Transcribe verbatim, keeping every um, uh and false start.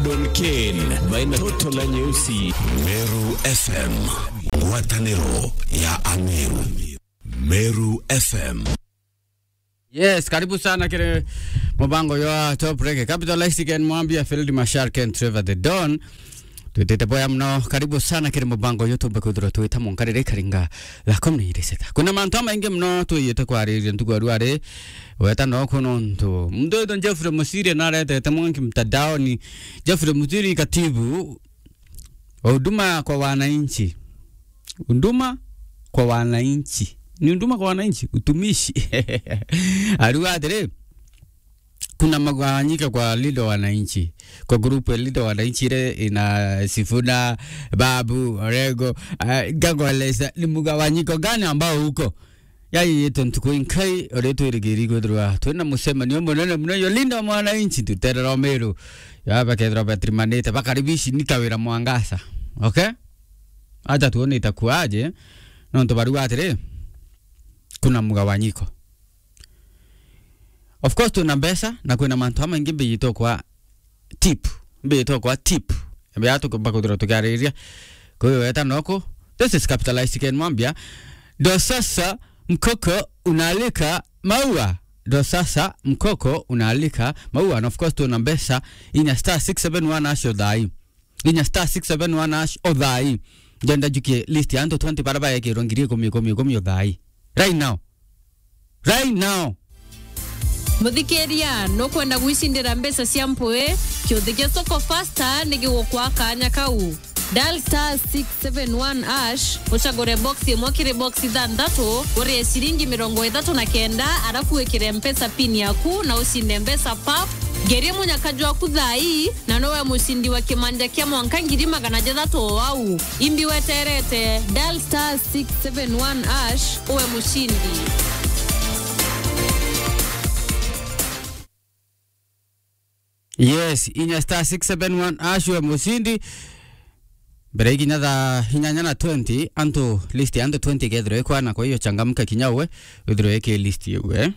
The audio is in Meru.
Don Ken, baina toto na nyeusi. Meru F M, ngwataniro ya Ameru. Meru F M. Yes, karibu sana kiri mubango ya Top Reggae. Capitalist Ken Mwambia, Field Marshal Ken Trevor the Don. Twitite boya muno. Karibu sana kiri mubango uyu tumbe kwithirwa twita mwanka riri karinga thaa kumi na iri sita. Kuna mantu amaingi muno twiyite kwariria ntuku ya ruari. Weta no kuno ntu. Muntu witwa Jeffrey Musiri naretete mwanki mtandaoni. Jeffrey Musiri, katibu wa huduma kwa wananchi. Huduma kwa wananchi. Ni huduma kwa wananchi, utumishi. Ariuga atiri, kuna mgawanyiko kwa Linda Wananchi. Kwa grupu ya Linda Wananchi ile ina Sifuna, Babu, Orengo, ah, Gagolesa, ni mgawanyiko gani ambao uko? Yaani, yetu ntuku inkai, ore twirigiri kwithirwa twina mucemanio munene muno yo Linda Mwananchi, tuterera Meru. Ya, bakethirwa batirimanite, bakaribishi ni Kawira Mwangaza. Okay? Acha tuone itakuwaje. Nontu bariuga atiri, kuna mgawanyiko. Of course, twina mbeca na kwina mantu amaingi mbiyitwo kwa tip. Mbiyitwo kwa tip. Mbeya tukumba kwithirwa tukiariria. Kwa hiyo weta noko. This is Capitalist Ken Mwambia. Ndo sasa mkoko unaalika maua. Ndo sasa mkoko unaalika maua. And of course, twina mbeca inya star six seven one hash o thaa ii. Inya star six seven one hash o thaa ii. Ndenda njukie list ya antu twenty bara baekirwe ngiri ikumi, ikumi, ikumi o thaa ii. Right now. Right now. Muthikiria, nukwenda gwicindira mbeca cia mpui? Kiuthi gia Soko Fasta ni gigukwa kanya kau. Dial star six seven one hash, ucagure box imwe kiri box ithanthatu, urie ciringi mirongo ithatu na kenda, arafu wikire Mpesa pin yaku na ucinde mbeca pap. Ngerie munyaka jwaku thaa ii, na nowe mucindi wa kimanja kia mwanka ngiri magana jathatu o au. Imbi weterete, dial star six seven one hash, uwe mucindi. Yes, inya star six seven one hash, uwe mucindi. Mbere ikinya thaa inyanya na twenty, antu, list ya antu twenty ikethirwa ikwana, kwa hiyo changamka kinya uwe, withirwe iki list iu, eh?